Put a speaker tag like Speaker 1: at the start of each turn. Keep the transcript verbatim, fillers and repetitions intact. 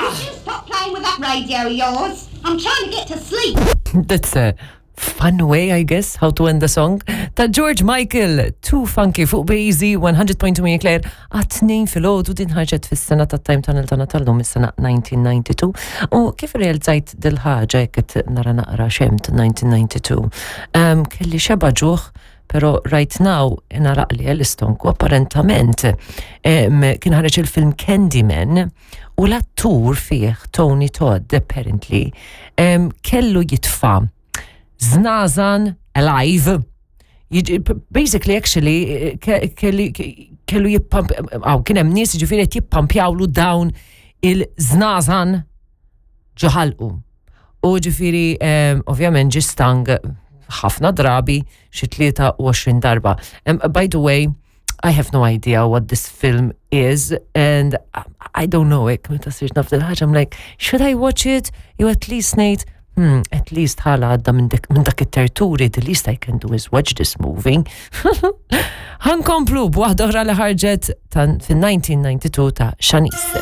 Speaker 1: Would you stop playing with that radio of yours? I'm trying to get to sleep.
Speaker 2: That's a fun way, I guess, how to end the song. Ta' George Michael, Too Funky fuq B-Easy one hundred point two Marie Claire, għat-tnejn filgħodu. Din ħarġet fis-sena ta' Time Tunnel tagħna tal-lum, is-sena elf disa' mija u disgħa u disgħin. U kif realizzajt dil-ħaġa jekk qed nara naqra xemt elf disa' mija u disgħa u disgħin. Um, kelli xeba ġuħ, pero right now inaraqli l-istonku. Apparentament um, kien ħareġ il-film Candyman u l-attur fih, Tony Todd, apparently um, kellu jitfa' żnażan alive. Jiġi- Basically, actually, ke- kelli kellu jippamp, għaw, kien hemm nies ġifieri qed jippampjawlu dawn il-żnażan ġo ħalqu. U ġifieri, um, ovvjament ġie stung ħafna drabi, xi tlieta u għoxrin darba. Um, by the way, I have no idea what this film is and I don't know it. Meta sirt naf dil-ħaġa, I'm like, should I watch it? You at least ngħid, hmm, at least ħala għadda minn dak minn dak it-terturi, the least I can do is watch this movie. Ħa nkomplu b'waħda oħra li ħarġet fin-elf disa' mija u disgħa u disgħin ta' Shanice.